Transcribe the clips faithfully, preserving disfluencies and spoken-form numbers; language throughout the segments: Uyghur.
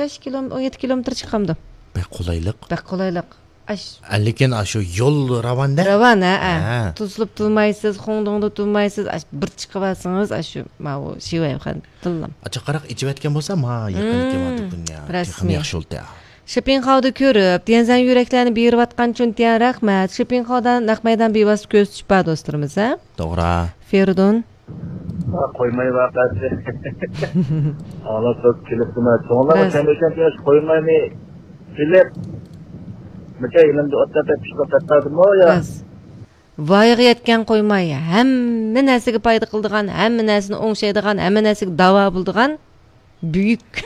بەش كىلوم-، ئون يەتتە كىلومېتىر چىقامدۇ؟ بەك قولايلىق. بەك قولايلىق. ئاش- لېكىن ئاشۇ يول راۋاندا. راۋان، ھە، ھە. ھە. توسۇلۇپ تۇرمايسىز، خوڭدوڭدا تۇرمايسىز، ئاش-، بىر چىقىۋالسىڭىز، ئاشۇ، ماۋۇ شىۋەيخان تىللام. ئاچا قاراق ئىچىۋەتكەن بولسا، ما، يېقىن مم. كېلىۋاتىدۇ دۇنيا. رەسمىي. تېخىمۇ ياخشى بولدى. شېپىڭخاۋدا كۆرۈپ، تيەنزەن يۈرەكلەرنى بېرىۋاتقان چۈنتيەن رەھمەت. شېپىڭخاۋدا نەق مەيدان بىۋاسىتە كۆرسىتىش بار دوستلىرىمىز، ھە؟ توغرا. فېرىدۇن. ھا، قويماي ۋەقەسى. ئانا سۆز كېلىپتىمە. چوڭلارغا راست. كەمىكەن دېگەچ قويماينى سېلىپ، مىكە يېنىمدا ئوتتا پىشقا تەتتادىمۇ يا؟ راست. ۋايىغا يەتكەن قويماي، ھەممە نەرسىگە پايدا قىلىدىغان، ھەممە نەرسىنى ئوڭشايدىغان، ھەممە نەرسىگە داۋا بولىدىغان بۈيۈك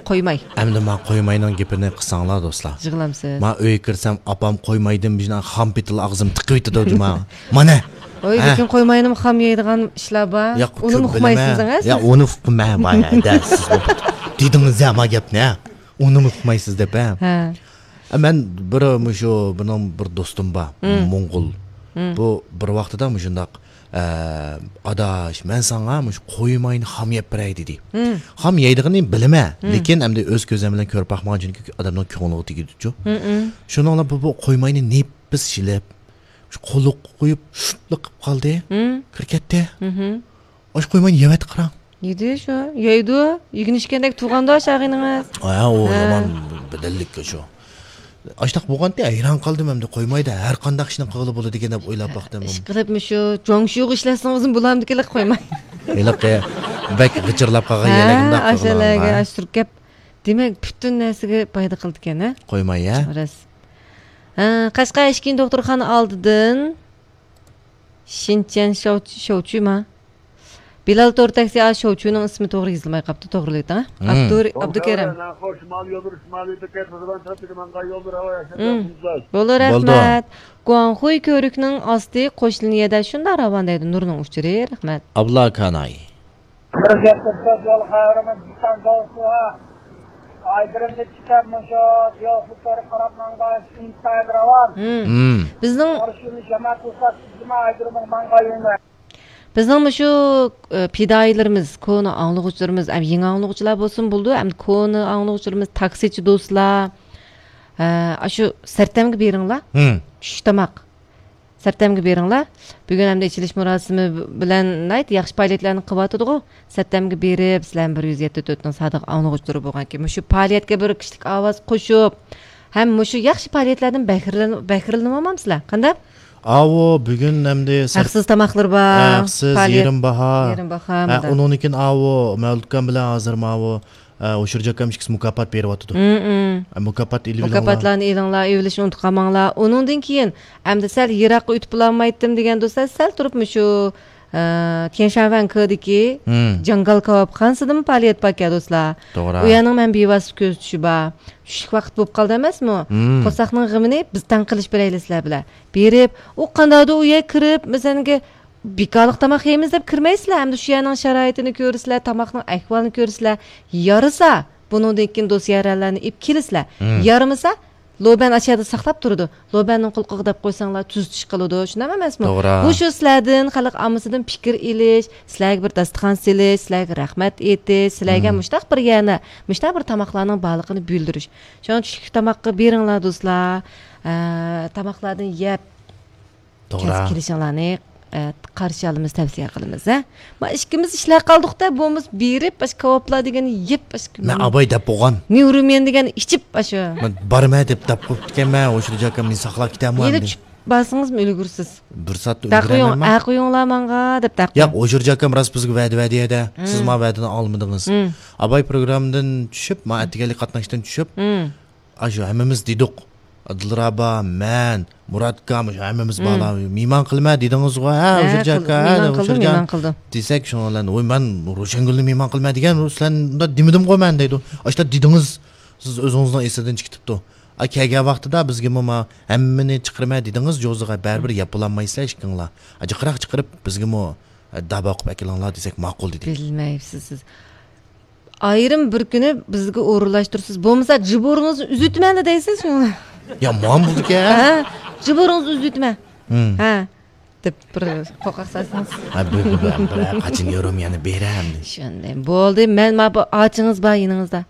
قويماي. ئەمدى ما قويماينىڭ گېپىنى قىلساڭلار، دوستلار. يىغلامسىز. ما ئۆيگە كىرسەم، ئاپام قويمايدىن بىر خام پېتىل ئاغزىمنى تىقىۋېتىدۇ جۇما. مانا. ئوي، ھە. لېكىن قويماينىمۇ خام يەيدىغان ئىشلار بار. ياق، ئۇنىمۇ كۆپ ئۇقمايسىز، بىلىمەن. ئەمەس؟ ياق، ئۇنى ئۇقمايمەن، بايا، دەل سىز دېدىڭىز يا ما گەپنى، ھە؟ ئۇنىمۇ ئۇقمايسىز دەپ، ھە؟ ھە. ئە، مەن بىر مۇشۇ، بۇنىڭ بىر دوستۇم بار، مم. موڭغۇل. مم. بۇ بىر ۋاقتىدا مۇشۇنداق، ئە، «ئاداش، مەن ساڭا مۇشۇ قويماينى خام يەپ بېرەي» دېدى. مم. خام يەيدىغىنىنى بىلىمەن، مم. لېكىن ئەمدى ئۆز كۆزۈم بىلەن كۆرۈپ باقمىغان، چۈنكى ئادەمنىڭ كۆڭلىگە تېگىدۇچۇ. مم، مم. شۇنىڭ بىلەن بۇ، بۇ قويماينى نېپىز شىلىپ، شۇ قولۇققا قويۇپ، شۇتلا قىلىپ قالدى. مم. كىرىپ كەتتى. مم. ئاش قويماينى يەۋەتتى قاراڭ. يېدى شۇ، يەيدۇ. يېگىن ئىچكەندەك تۇرغاندۇ ئاشاغىنىڭىز. ھە، ئۇ ھە. يامان بەدەللىك شۇ. ئاشتاق بولغانتى، ھەيران قالدىم ئەمدى، قويمايدا ھەر قانداق ئىشنى قىلغىلى بولىدىكەن دەپ ئويلاپ باقتىم. ئىشقىلىپ مۇشۇ جۇاڭشۇغا ئىشلەتسىڭىزمۇ بولامدىكىنلىك قويماي. ھېلىقى بەك غىچىرلاپ قالغان ھە، يەرلەرگە ئاشۇنداق ئاشۇ قىلغىنىڭ يەرگە بار. ئاشۇ سۈركەپ. دېمەك، پۈتۈن نەرسىگە پايدا قىلىدىكەن، ھە؟ قويماي، ھە؟ راست. ھە، قەشقەر ئىچكىرى دوختۇرخانا ئالدىدىن شىنچيەن شاۋچ-، شاۋچۈما؟ بىلال تور تاكسى، ئا، شوۋچۇنىڭ ئىسمى توغرا يېزىلماي قاپتۇ، توغرىلىۋېتىڭ. مم. ئابدۇر-، ئابدۇكېرىم. شىمال يوللىرى، شىمالىي بېكەت، مۇزۇلان تەرىپىگە ماڭغان يوللىرى ھاۋا ياخشى. مم. بولدى، بولدى. رەھمەت. گۇاڭخۇي كۆۋرۈكنىڭ ئاستى قوش لىنىيەدە شۇنداق راۋان دەيدۇ، نۇرنىڭ ئۇچۇرى. رەھمەت. ئابلا كاناي. بىر گەپ قىلسا، يول خەۋىرىمىز جىسان دوستلۇقى. ئايدىرىمنى چىقىپ مۇشۇ دىيالفۇتلارغا قاراپ ماڭغان ئىنتايىن راۋان. مم. مم. بىزنىڭ قارشى يولنى جامائەت بولسا، سىزمۇ ئايدىرىمغا ماڭغان يولنى. بىزنىڭ مۇشۇ، ئى، پىدائىيلىرىمىز، كونا ئاڭلىغۇچىلىرىمىز، ئەم، يېڭى ئاڭلىغۇچىلار بولسىمۇ بولىدۇ، ئەمدى كونا ئاڭلىغۇچىلىرىمىز، تاكسىچى دوستلار، ئە، ئاشۇ سەرتەمگە بېرىڭلار. مم. چۈشلۈك تاماق. سەرتەمگە بېرىڭلار. بۈگۈن ئەمدى ئېچىلىش مۇراسىمى بىلەن ناھايىتى ياخشى پائالىيەتلەرنى قىلىۋاتىدىغۇ. سەرتەمگە بېرىپ، سىلەر بىر يۈز يەتتە تۆتنىڭ سادىق ئاڭلىغۇچىلىرى بولغانكىن، مۇشۇ پائالىيەتكە بىر كىشىلىك ئاۋاز قوشۇپ، ھەم مۇشۇ ياخشى پائالىيەتلەردىن بەھرىلىن-، بەھرىلىنىۋالمامسىلەر؟ قانداق؟ ئاۋۇ بۈگۈن ئەمدى سەر-، ھەقسىز تاماقلىرى بار، ھەقسىز، پائالىيەت. يېرىم باھا. يېرىم باھا، ھە، مۇنداق. ئۇنىڭدىن كېيىن ئاۋۇ مەۋلۇتكان بىلەن ھازىر ماۋۇ ئە، ھوشۇر جاكام ئىككىسى مۇكاپات بېرىۋاتىدۇ. مم، مم. ئە، مۇكاپات ئېلىۋېلىڭلار. مۇكاپاتلارنى ئېلىڭلار، ئېلىۋېلىشنى ئۇنتۇپ قالماڭلار. ئۇنىڭدىن كېيىن، ئەمدى سەل يىراققا ئۆتۈپ بولالمايتتىم دېگەن دوستلار، سەل تۇرۇپ مۇشۇ، ئە، تيەنشانۋەن كېدىكى مم. جاڭگال كاۋاپخانىسىدىمۇ پائالىيەت باركەن دوستلار. توغرا. ئۇ يەرنىڭ مەن بىۋاسىتە كۆزىتىشى بار. چۈشلۈك ۋاقىت بولۇپ قالدى ئەمەسمۇ؟ مم. قورساقنىڭ غېمىنى بىز تەڭ قىلىش بېرەيلى سىلەر بىلەن. بېرىپ، ئۇ قانداقدۇر ئۇ يەرگە كىرىپ، مەسىلەنكى، بىكارلىق تاماق يەيمىز دەپ كىرمەيسىلەر، ئەمدى شۇ يەرنىڭ شارائىتىنى كۆرىسىلەر، تاماقنىڭ ئەھۋالىنى كۆرىسىلەر. يارىسا، بۇنىڭدىن كېيىن دوست يارەنلەرنى ئېلىپ كېلىسىلەر. مم. يارىمىسا، لوبەن ئاشۇ يەردە ساقلاپ تۇرىدۇ. لوبەننىڭ قۇلىقىغا دەپ قويساڭلار، تۈزىتىش قىلىدۇ. شۇنداق ئەمەسمۇ؟ توغرا. بۇ شۇ سىلەردىن، خەلق ئاممىسىدىن پىكىر ئېلىش، سىلەرگە بىر داستىخان سېلىش، سىلەرگە رەھمەت ئېيتىش، سىلەرگە مم. مۇشتاق بىر يەرنى، مۇشتاق بىر تاماقلارنىڭ بارلىقىنى بىلدۈرۈش. شۇڭا چۈشلۈك تاماققا بېرىڭلار، دوستلار. ئە، تاماقلاردىن يەپ، توغرا. كەلسە كېلىشىڭلارنى، ئە، قارشى ئالىمىز، تەۋسىيە قىلىمىز، ھە؟ ما ئىككىمىز ئىشلەپ قالدۇقتا، بۇمىز بېرىپ، ئاشۇ كاۋاپلار دېگەننى يەپ، ئاشۇ مەن ئاباي دەپ بولغان. نيۇرۇمىيەن دېگەننى ئىچىپ، ئاشۇ. مەن بارىمەن دەپ دەپ قويۇپتىكەنمەن، ھوشۇر جاكام مېنى ساقلاپ كېتەرمۇ يېنى ئەمدى؟ چۈشۈپ بارسىڭىزمۇ ئۈلگۈرسىز. بىر سائەتتە دەقىيۇڭ، ئۈلگۈرەلەيمەن. ئەقىيۇڭلار ماڭا دەپ دەقىيۇڭ. ياق، ھوشۇر جاكام راست بىزگە ۋەدە بەردى يەدە. مم. سىز ما ۋەدىنى ئالمىدىڭىز. مم. ئاباي پروگراممىدىن چۈشۈپ، ما ئەتىگەنلىك قاتناشتىن چۈشۈپ، مم. ئاشۇ ھەممىمىز دېدۇق. دىلرابا، مەن، مۇراتكا، مۇشۇ ھەممىمىز مم. بالار. مېھمان قىلىمەن دېدىڭىزغۇ، ھە، ھە، ھوشۇر قىل-، جاكا، مېھمان قىلدىم، ھوشۇر جان. مېھمان قىلدىم. دېسەك، شۇنىڭ بىلەن، ۋوي، مەن روشەنگۈلنى مېھمان قىلىمەن دېگەن، سىلەر ئۇنداق دېمىدىمغۇ مەن دەيدۇ. ئاشۇنداق دېدىڭىز، سىز ئۆزىڭىزنىڭ ئېسىدىن چىقىپ كېتىپتۇ. ئا، كەلگەن ۋاقتىدا بىزگىمۇ ما ھەممىنى چىقىرىمەن دېدىڭىز، جوزىغا بەرىبىر ياپىلالمايسىلەر ئىككىڭلار. ئا، جىقراق چىقىرىپ بىزگىمۇ، ئە، دابا قىلىپ ئەكېلىڭلار دېسەك ماقۇل دېدى. بىلمەيسىز سىز. ئايرىم بىر كۈنى بىزگە ئورۇنلاشتۇرىسىز. بولمىسا جىبورىڭىزنى ئۈزۈۋېتىمەن دەيسىز شۇڭا. يا، مانا بولىدىكەن. ھە، جىبورىڭىزنى ئۈزۈۋېتىمەن. ھە، دەپ بىر قورقاق سالسىڭىز. ھە، بىر، بىر، بىر، بىر، قاچان يورۇم يەنە بېرەم. شۇنداق. بولدى، مەن ما بۇ ئاچىڭىز بار يېنىڭىزدا.